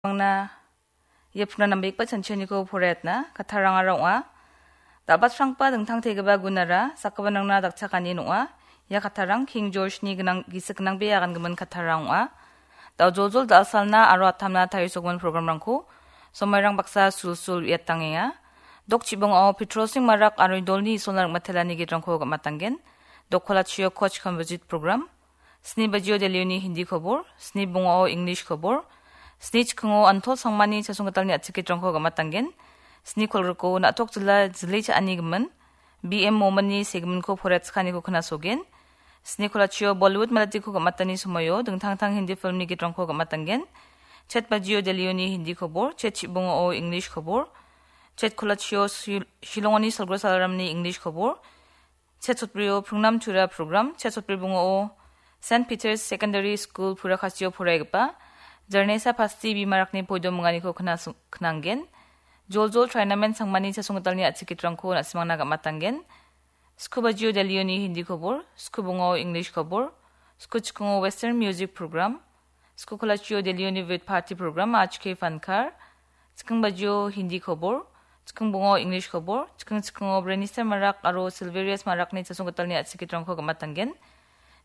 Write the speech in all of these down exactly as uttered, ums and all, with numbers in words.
Mangna ia puna nambegipa chanchianiko poraiatna kattarangara ong·a. Dabatrangba dingtangtegipa gunara sakgipanrangna dakchakani ong·a. Ia kattarang King George-ni gnang, gisik gnangbe agangimin kattarang ong·a. Dao joljol dal·salna aro atamna tarisogimin programrangko somairang baksa sulsul uiatangenga. Dok chibongao Petrol Singh Marak aro Idolni Isolna Rikmatelani gitrangko gam·atanggen. Dok kolachio Koch Composite Program. Sni bajio Delhioni Hindi kobor, sni bongao English kobor, sni chikingo Antol Sangmani chasonggitalni a·chik gitrangko gam·atanggen. Sni kolgriko na·tok jila jili cha·ani gimin, B M Mominni segiminko poraiatchikaniko knasogen. Sni kolachio Bollywood malatiko gam·atani somoio dingtang tang Hindi filmni gitrangko gam·atanggen. Chet bajio Delhioni Hindi kobor, chet chibongao English kobor, chet kolachio Shil-, Shillongoni Salgro Salaramni English kobor, chet sotbrio Pringnam Tura program, chet sotbri bongao Saint Peter's Secondary School Purakasio poraigipa Jarnesa Pasti bimarakni poido minganiko knasu-, knanggen. Joljol Trainamen Sangmani chasonggitalni a·chik gitrangko na·simangna gam·atanggen. Sku bajio Delhioni Hindi kobor, sku bongao English kobor, sku chikingo Western Music Program, sku kolachio Delhioni Vid Party Program, H K Fankar, chiking bajio Hindi kobor, chiking bongao English kobor, chiking chikingo Brenister Marak aro Silverius Marakni chasonggitalni a·chik gitrangko gam·atanggen.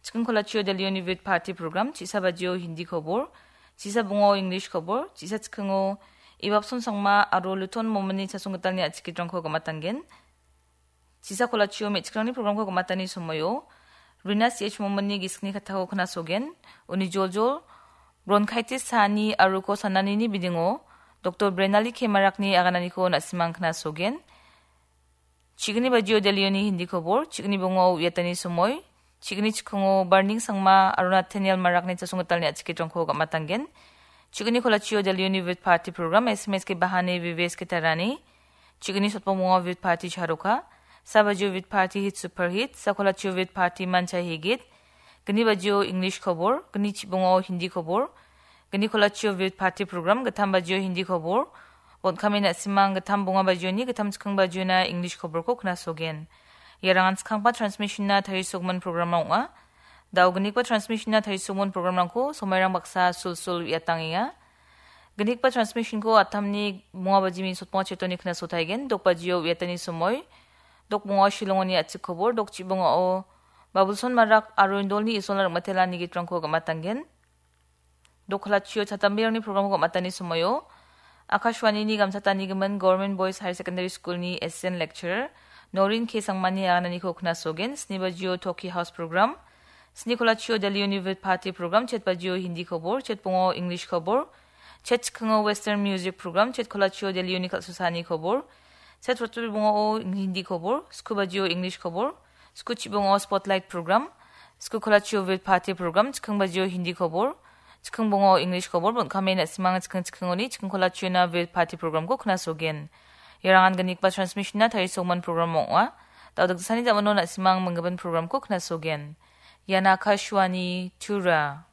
Chiking kolachio Delhioni Vid Party Program, chisa bajio Hindi kobor, chisa bongao English kobor, chisa chikingo Ibapson Sangma aro Luton Mominni chasonggitalni a·chik gitrangko gam·atanggen. Chisa kolachio me·chikrangni programko gam·atani somoio Rina C H Mominni gisikni kattako knasogen. Uni joljol bronchitis saani aro uko sananini bidingo Doktor Brenali K Marakni agananiko na·simang knasogen. Chigni bajio Delhioni Hindi kobor, chigni bongao uiatani somoi, chigni chikingo Barning Sangma aro Nathaniel Marakni chasonggitalni a·chik gitrangko gam·atanggen. Chigni kolachio Delhioni Vid Party Program, S M S ke Bahane Vives ke Tarani, chigni sotbong bongao Vid Party Charoka, sa bajio Vid Party Hit Super Hit, sa kolachio Vid Party Mancha Higit, gni bajio English kobor, gni chibongao Hindi kobor, gni kolachio Vid Party Program, gittam bajio Hindi kobor, bon·kame na·simang gittam bonga bajioni, gittam chiking bajiona English koborko knasogen. Iarangan skanggipa transmissionna tarisogimin program ong·a. Dao gnigipa transmissionna tarisogimin programrangko somairang baksa sulsul uiatangenga. Gnigipa transmissionko atamni bonga bajimi sotbonga chetoni knasotaigen, dok bajio uiatani somoi, dok bongao Shillongoni a·chik kobor, dok chibongao Babulson Marak aro Indolni Isolna Rikmatelani gitrangko gam·atanggen. Dok kolachio chatamberangni programko gam·atani somoio Akashvanini gamchatanigimin Government Boys Higher Secondary Schoolni Assistant Lecturer Norin K Sangmani agananiko knasogen, sni bajio Toki House Program, sni kolachio Delhioni Vid Party Program, chet bajio Hindi kobor, chet bongao English kobor, chet chikingo Western Music Program, chet kolachio Delhioni kal·susani kobor, chet rotbri bongao Hindi kobor, sku bajio English kobor, sku chibongao Spotlight Program, sku kolachio Vid Party Program, chiking bajio Hindi kobor, chiking bongao English kobor, bon·kame na·simang chiking chikingoni chiking kolachiona Vid Party Programko knasogen. Iarangan gnigipa transmissionna tarisogimin program ong·a. Dao dakgisani dam·ono na·simang minggimin programko knasogen. Ian Akashvani Tura.